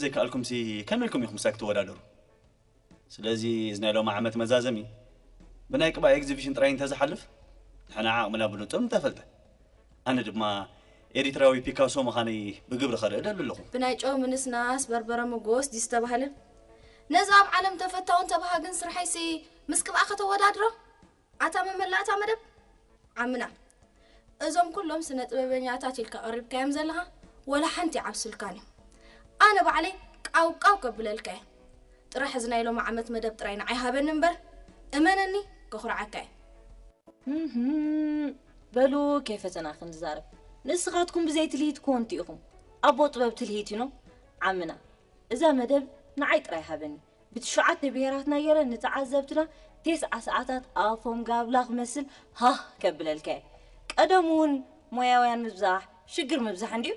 ዘይከኣልኩምሲ ከመይ ኢልኩም ኢኹም ምሳይ ክትወዳደሩ? ስለዚ እዚ ናይ ሎሚ ዓመት መዛዘሚ ብናይ ቅብኣ ኤግዚቢሽን ጥራይ እንተዝሓልፍ ንሕና ዓቕምና ብንጹር ምተፈልጠ። ኣነ ድማ ኤሪትራዊ ፒካሶ ምዃነይ ብግብሪ ከርኢ ደሊ ኣለኹ። ብናይ ጨው ምንስናስ በርበረ ምጎስ ድዩ ዝተባህለ? ነዚ ኣብ ዓለም ተፈታውን ተባሃግን ስርሐይሲ ምስ ቅብኣ ከተወዳድሮ? ኣታ መመላእታ መደብ ዓምና፣ እዞም ኩሎም ስነ ጥበበኛታት ኢልካ ቀሪብካዮም ዘለኻ ወላ ሓንቲ ይዓብስልካን እዮም። ኣነ ባዕለይ ቃው ቃው ከብለልካ እየ። ጥራሕ እዚ ናይ ሎሚ ዓመት መደብ ጥራይ ንዓይ ሃበኒ እምበር እመነኒ ከኹርዓካ እየ። እህም፣ በሉ ከይፈተና ክንዛረብ። ንስኻትኩም ብዘይ ትልሂት ኮንቲ ኢኹም። ኣቦ ጥበብ ትልሂት ኢኖ ዓምና። እዛ መደብ ንዓይ ጥራይ ሃበኒ። ብትሽዓተ ብሄራትና ገይረ ንተዓዘብትና ቴስዓ ሰዓታት ኣፎም ጋብላ ክመስል ሃህ ከብለልካ እየ። ቀደም እውን ሞያውያን ምብዛሕ ሽግር ምብዛሕ እንድዩ።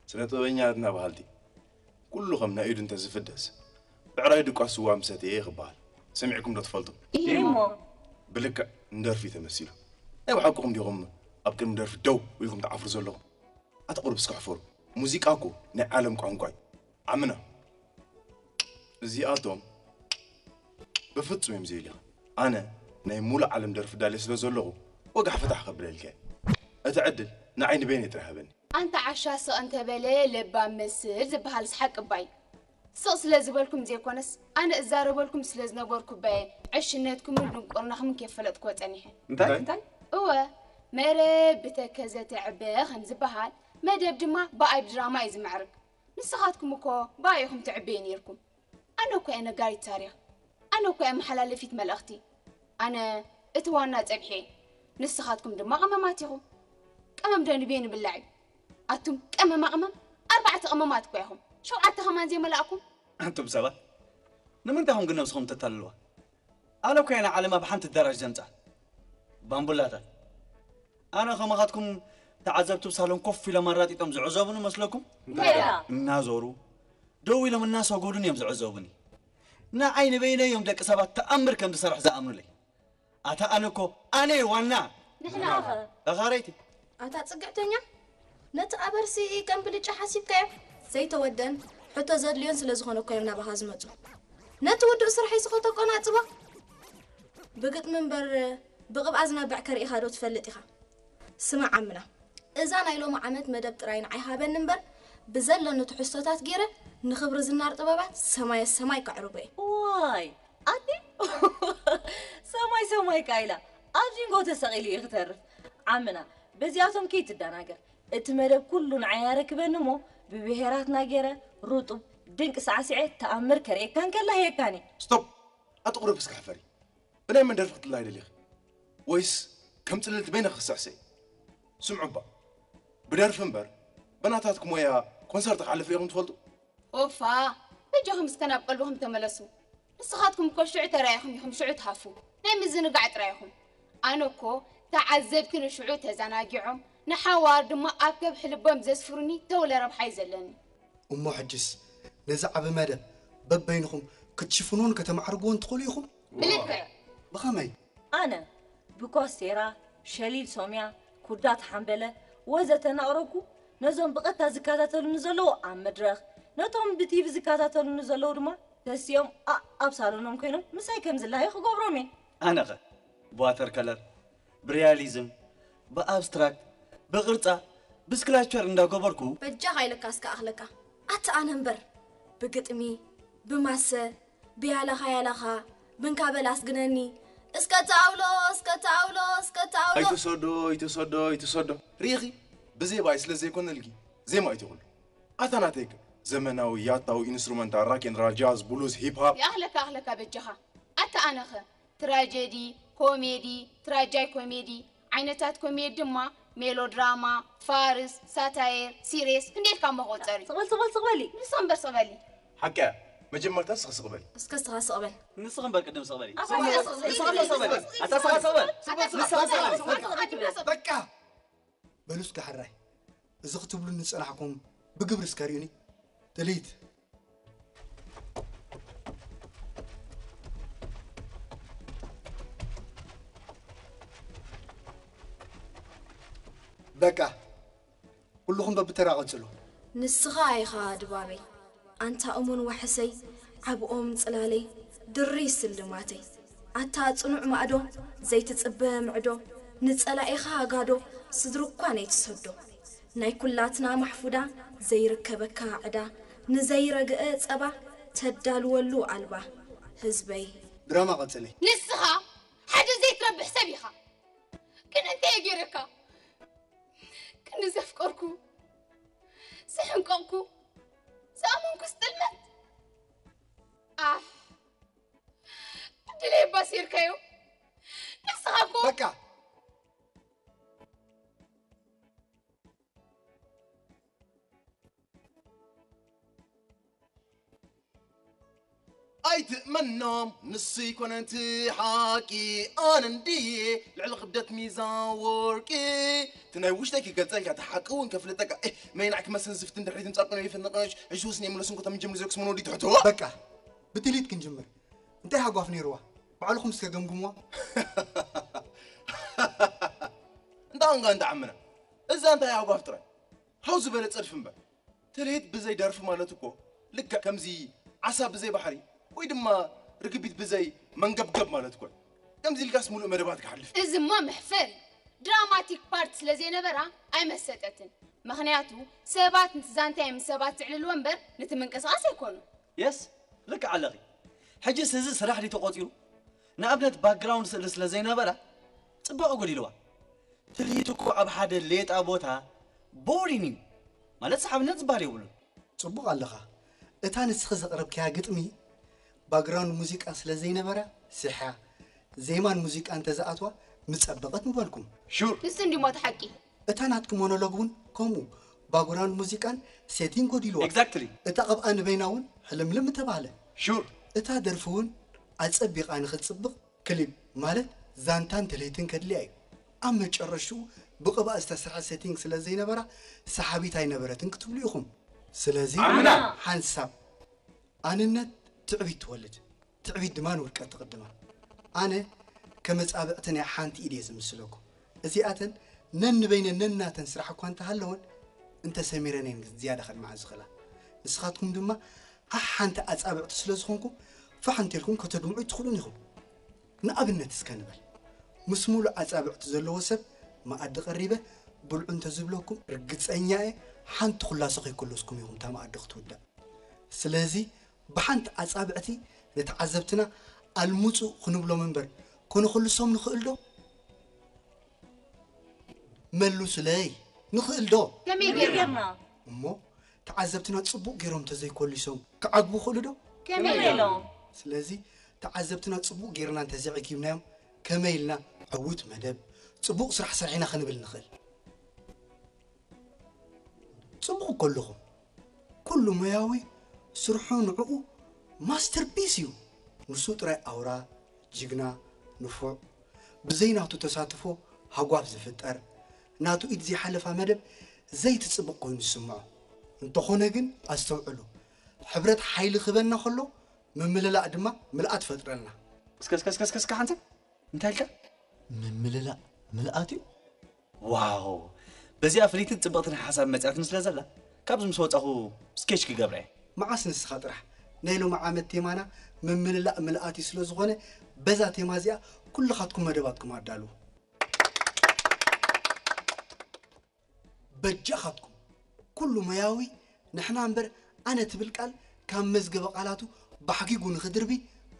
ስነ ጥበበኛትና በሃልቲ ኩሉ ከም ናይ ኢዱ እንተዝፍደስ ብዕራይ ድቋስ ስዋ ምሰተየ ክበሃል ሰሚዕኩም ዶ ትፈልጡ? ኢሞ ብልክዕ ንደርፊ ተመሲሉ። ናይ ብሓቅኹም ዲኹም ኣብ ቅድሚ ደርፊ ደው ኢልኩም ትዓፍሩ ዘለኹም? ኣታ ቁሩብ እስኪ ሕፈሩ። ሙዚቃ እኮ ናይ ዓለም ቋንቋ እዩ። ዓምና እዚኣቶም ብፍጹም እዮም ዘየድልዩኻ። ኣነ ናይ ሙሉእ ዓለም ደርፊ ዳልየ ስለ ዘለኹ ወጋሕ ፈታሕ ከብለልካ እየ። እቲ ዕድል ንዓይ ንበይነይ ጥራይ ሃበኒ። ኣንታ ዓሻ ስቕ እንተበለ ለባም መስል ዝበሃልስ ሓቂ እባ እዩ። ስቕ ስለ ዝበልኩም ዘይኮነስ ኣነ እዛረበልኩም ስለ ዝነበርኩ እባ እየ ዕሽነትኩምን ድንቁርናኹምን ከይፈለጥክዎ ጸኒሐ። እንታይ? እንታይ? እወ መረብ ብተከዘ ትዕበ ከም ዝበሃል መደብ ድማ ብኣይ ብድራማ እዩ ዝምዕርግ። ንስኻትኩም እኮ ብኣይ ኢኹም ትዕበዩ ነይርኩም። ኣነ እኮ እየ ነጋሪት ታሪኽ። ኣነ እኮ እየ መሓላለፊት መልእኽቲ። ኣነ እቲ ዋና ጸብሒ እየ። ንስኻትኩም ድማ ቀመማት ኢኹም። ቀመም ዶ ንበይኑ ይብላዕ እዩ? ኣቱም ቀመማ ቅመም ኣርባዕተ ቀመማት እኳ ኢኹም። ሸውዓተ ከማን ዘይመላእኩም። ኣንቱም ሰባት ንምንታይ ኢኹም ግን ነብስኹም ተታልልዋ? ኣነ እኮ እየ ንዓለም ኣብ ሓንቲ ኣዳራሽ ዘምጻ። ባምቡላታት ኣነ ከማኻትኩም ተዓዘብቲ ኣብ ሳሎን ኮፍ ኢሎም ኣራጢጦም ዝዕዘቡኒ መስለኩም? እንታይ ደኣ? እናዞሩ ደው ኢሎም እናሰጎዱን እዮም ዝዕዘቡኒ። ንዓይ ንበይነይ እዮም ደቂ ሰባት ተኣምር ከም ዝሰርሕ ዝኣምኑለይ። ኣታ ኣነ እኮ ኣነ እየ ዋና። ንሕና ኸ? ተኻረይቲ ኣታ ጽግዕተኛ ነቲ ኣበርሲ ከም ብልጫ ሓሲብካዮ ዘይተወደን ሕቶ ዘድልዮን ስለ ዝኾነ እኮ እዮም ናባኻ ዝመጹ። ነቲ ውዱእ ስርሐይ ስኸ ተቆናጽቦ። ብግጥሚ እምበር ብቕብኣ ዝነብዕ ከርኢኻ ዶ ትፈልጥ ኢኻ? ስማዕ ዓምና፣ እዛ ናይ ሎሚ ዓመት መደብ ጥራይ ንዓይ ሃበኒ እምበር ብዘለኒ ትሕዝቶታት ገይረ ንኽብሪ ዝናር ጥበባት ሰማየ ሰማይ ከዕርጎ እየ። ዋይ ኣቲ ሰማይ ሰማይ ቃይላ ኣብ ዚንጎ ተሰቒሉ እዩ ክተርፍ። ዓምና በዚኣቶም ከይትደናገር። እቲ መደብ ኩሉ ንዓይ ኣረክበኒ እሞ ብብሄራትና ገይረ ሩጡብ ድንቂ ሳዕሲዐ ተኣምር ከርእየካ እንከላ ህየካኒ። ስቶፕ! ኣቲ ቁሩብ እስኪ ሕፈሪ። ብናይ መን ደርፊ ክትልላይ ደሊኺ? ወይስ ከም ጽልልቲ በይንኺ ክስዕስዒ? ስምዑ እባ፣ ብደርፊ እምበር ብናታትኪ ሞያ ኮንሰርት ክሓልፍ ርኢኹም ትፈልጡ? ኦፋ! በጃኹም እስከ ናብ ቀልብኹም ተመለሱ። ንስኻትኩም እኮ ሽዑ ተራኢኹም ኢኹም ሽዑ ትሃፉ። ናይ ምዝንጋዕ ጥራይ ኢኹም። ኣነ እኮ ተዓዘብቲ ንሽዑ ተዘናጊዖም ንሓዋር ድማ ኣብ ከብሒ ልቦም ዘስፍሩኒ ተውለ ረብሓ እዩ ዘለኒ። እሞ ሕጅስ ነዚ ዓቢ መደብ በበይንኹም ክትሽፍንዎን ከተማዕርግዎን ትኽእሉ ኢኹም። ብልክዕ። ብኸመይ? ኣነ ብኮስቴራ፣ ሸሊል ሶምያ፣ ኩዳ ተሓምበለ ወዘተ እናቕረብኩ ነዞም ብቐጥታ ዝከታተሉኒ ዘለዉ ኣብ መድረኽ ነቶም ብቲቪ ዝከታተሉኒ ዘለዉ ድማ ተሲኦም ኣእ ኣብ ሳሎኖም ኮይኖም ምሳይ ከም ዝለሃዩ ክገብሮም እየ። ኣነኸ ብዋተር ከለር፣ ብሪያሊዝም፣ ብኣብስትራክት፣ ብቕርጻ፣ ብስክላቸር እንዳገበርኩ። በጃኻ ኢለካ እስከ ኣኽለካ ኣቲ ኣነ እምበር ብግጥሚ ብማሰ ብያላኻ ያላኻ ብንካ በል ኣስግነኒ እስከ ተኣውሎ እስከ ተኣውሎ እስከ ተኣውሎ። ኣይትሰዶ ኣይትሰዶ ኣይትሰዶ ርኢኺ ብዜማይ ስለ ዘይኮነልኪ ዜማ ኣይትኹሉ ኣታ ናተይከ ዘመናዊ ያታዊ ኢንስትሩመንታል ራክ ኤንድ ራል ጃዝ ብሉዝ ሂፕ ሃፕ። ይኣኽለካ ኣኽለካ በጃኻ ኣታ ኣነኸ ትራጀዲ ኮሜዲ ትራጃይ ኮሜዲ ዓይነታት ኮሜዲ ድማ ሜሎድራማ ፋርስ ሳታየር ሲሬስ ክንደይ ኢልካ እሞ ክቑጸር እዩ። ስቕ በል ስቕ በል ስቕ በሊ። ንስኺ እምበር ስቕ በሊ። ሓቂ እያ መጀመርታ ንስኺ ስቕ በሊ። እስከ ንስኻ ስቕ በል። ንስኺ እምበር ቅድም ስቕ በሊ። ንስኻ ስቕ በል። ንስኻ ስቕ በል። ኣታ ንስኻ ስቕ በል። ንስኻ ስቕ በል። ንስኻ ስቕ በል። በቃ በሉ እስከ ሕራይ እዚ ክትብሉኒ ዝጸናሕኩም ብግብሪ እስከ ርእዩኒ። ትልሂት። በቃ ኩልኹም በብተራ ቀጽሉ። ንስኻ ኢኻ ድባበይ። ኣንታ እሙን ዋሕሰይ፣ ዓብኦም ጽላለይ፣ ድሪ ስልማተይ። ኣታ ጽኑዕ ማእዶ፣ ዘይትጽበ ምዕዶ፣ ንጸላኢኻ ጋዶ፣ ስድሪ እኳ ነይትሰዶ። ናይ ኩላትና ማሕፉዳ፣ ዘይርከበካ ዕዳ፣ ንዘይረግአ ጸባ፣ ተዳልወሉ ኣልባ፣ ህዝበይ። ድራማ ቀጽሊ። ንስኻ ሓደ ዘይትረብሕ ሰብ ኢኻ። ግን እንታይ እየ ገይረካ? ክንዲ ዘፍቀርኩ፣ ዝሕንቀቕኩ፣ ዝኣመንኩ ስጥልመት። ኣፍ፣ ዕድለይ ኣባሲርካዮ። ንስኻ እኮ በቃ። ኣይትእመኖም፣ ንሱ ይኮነ እቲ ሓቂ። ኣነ እንድየ ልዕሊ ክብደት ሚዛን ወርቂ። እቲ ናይ ውሽጠይ ክገልጸልካ፣ እቲ ሓቂ እውን ከፍልጠካ። ኤህ፣ መይናዕ ክመስል ዝፍትን ድሕሪት ምጻብቅን ይፍንቕሽ። ሕጂ ወስን የምለስን ኮታ ምጀምር ዘክስ መኖዲ ትሕትዋ። በቃ፣ ብትሊት ክንጅምር። እንታይ ሃጓፍ ነይርዋ? ባዕልኹም እስከ ገምግምዋ። እንዳ እንጋ እንዳ ዓምና። እዛ እንታይ ሃጓፍ ጥራይ? ሃው ዝበለ ጸድፊ እምበር። ትልሂት ብዘይ ደርፊ ማለት እኮ ልክዕ ከምዚ ዓሳ ብዘይ ባሕሪ ወይ ድማ ርግቢት ብዘይ መንገብገብ ማለት እኮ እዩ። ከምዚ ኢልካስ ሙሉእ መደባት ክሓልፍ። እዚማ መሕፈሪ ድራማቲክ ፓርት ስለ ዘይነበራ ኣይመሰጠትን። ምኽንያቱ ሰባት ነቲ ዛንታይ ምስ ሰባት ዝዕልልዎ እምበር ነቲ ምንቅስቓስ ኣይኮኑን። የስ፣ ልክዕ ኣለኺ። ሕጅስ እዚ ስራሕ ድዩ ተቖጺሩ? ንኣብነት ባክግራውንድ ስእሊ ስለ ዘይነበራ ጽባቐ ጎዲልዋ። ትልሂት እኮ ኣብ ሓደ ሌጣ ቦታ ቦሪን እዩ። ማለት ሰሓብነት ዝበሃል የብሉን። ጽቡቕ ኣለኻ። እታ ንስኺ ዘቕረብክያ ግጥሚ ባክግራውንድ ሙዚቃ ስለ ዘይነበራ ስሕያ፣ ዜማን ሙዚቃን እንተዝኣትዋ ምጸበቐት ምበልኩም። ሹር። ንሱ እንዲሞ እቲ ሓቂ። እታ ናትኪ ሞኖሎግ እውን ከምኡ ባክግራውንድ ሙዚቃን ሴቲንግ ጎዲልዋ። ኤግዛክትሊ። እታ ቅብኣ ንበይና እውን ሕልምልም ምተባህለ። ሹር። እታ ደርፊ እውን ኣጸቢቓ ንኽትጽብቕ ክሊፕ ማለት ዛንታን ትልሂትን ከድልያ እዩ። ኣብ መጨረሽኡ ብቕብኣ ዝተሰርሐ ሴቲንግ ስለ ዘይነበራ ሰሓቢት ኣይነበረትን ክትብሉ ኢኹም። ስለዚ ኣምና። ሓንሳብ ኣንነት ትዕቢት ትወልድ፣ ትዕቢት ድማ ንውድቀት ትቕድማ። ኣነ ከመጻብዕቲ ናይ ሓንቲ ኢድ እየ ዝምስለኩም። እዚኣተን ነንበይነን ነናተን ስራሕ እኳ እንተሃለወን እንተሰሚረን እየን ዝያዳ ከድምዓ ዝኽእላ። ንስኻትኩም ድማ ሓሓንቲ ኣጻብዕቲ ስለ ዝኾንኩም ፋሕ እንተልኩም ከተድምዑ ኣይትኽእሉን ኢኹም። ንኣብነት እስከ ንበል፣ ምስ ሙሉእ ኣጻብዕቲ ዘለዎ ሰብ መኣዲ ቀሪበ ብልዑ እንተዝብለኩም ርግጸኛ እየ ሓንቲ ኩላሶ ከይኮለስኩም ኢኹም እታ መኣዲ ክትውዳእ። ስለዚ ብሓንቲ ኣጻብዕቲ ንተዓዘብትና ኣልምጹ ክንብሎም እምበር ከነኹልሶም ንኽእል ዶ? መልሱለይ፣ ንኽእል ዶ? ከመይ ጌርና? እሞ ተዓዘብትና ጽቡቕ ጌሮም እንተዘይኮሊሶም ክዓግቡ ይኽእሉ ዶ? ከመይ ኢሎም? ስለዚ ተዓዘብትና ጽቡቕ ጌርና እንተዘይዕጊብናዮም ከመይ ኢልና ዕዉት መደብ፣ ጽቡቕ ስራሕ ሰሪሕና ክንብል ንኽእል? ጽቡቕ እኮ ኣለኹም። ኩሉ ሞያዊ ስርሑ ንዕኡ ማስተርፒስ እዩ። ንሱ ጥራይ ኣውራ፣ ጅግና፣ ንፉዕ፣ ብዘይ ናቱ ተሳትፎ ሃጓፍ ዝፍጠር፣ ናቱ ኢድ ዘይሓለፋ መደብ ዘይትጽብቕ ኮይኑ ዝስምዖ። እንተኾነ ግን ኣስተውዕሉ፣ ሕብረት ሓይሊ ክህበና ከሎ ምምልላእ ድማ ምልኣት ይፈጥረልና። እስከ እስከ እስከ እስከ እስከ ሓንሳብ እንታይ ኢልካ? ምምልላእ ምልኣት እዩ። ዋው! በዚኣ ፍልይትን ጽብቕትን ሓሳብ መጺኣትኒ ስለ ዘላ፣ ካብዚ ምስ ወጻኹ ስኬች ክገብራ እየ። መዓስ ንስኻ ጥራሕ። ናይ ሎሚ ዓመት ቴማና ምምልላእ ምልኣት እዩ ስለ ዝኾነ፣ በዛ ቴማ እዚኣ ኩልኻትኩም መደባትኩም ኣዳልዉ። በጃኻትኩም፣ ኩሉ ሞያዊ ንሕና እምበር ኣነ ትብል ቃል ካብ መዝገበ ቃላቱ ባሕጊጉ ንኽድርቢ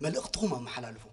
መልእኽትኹም ኣመሓላልፉ።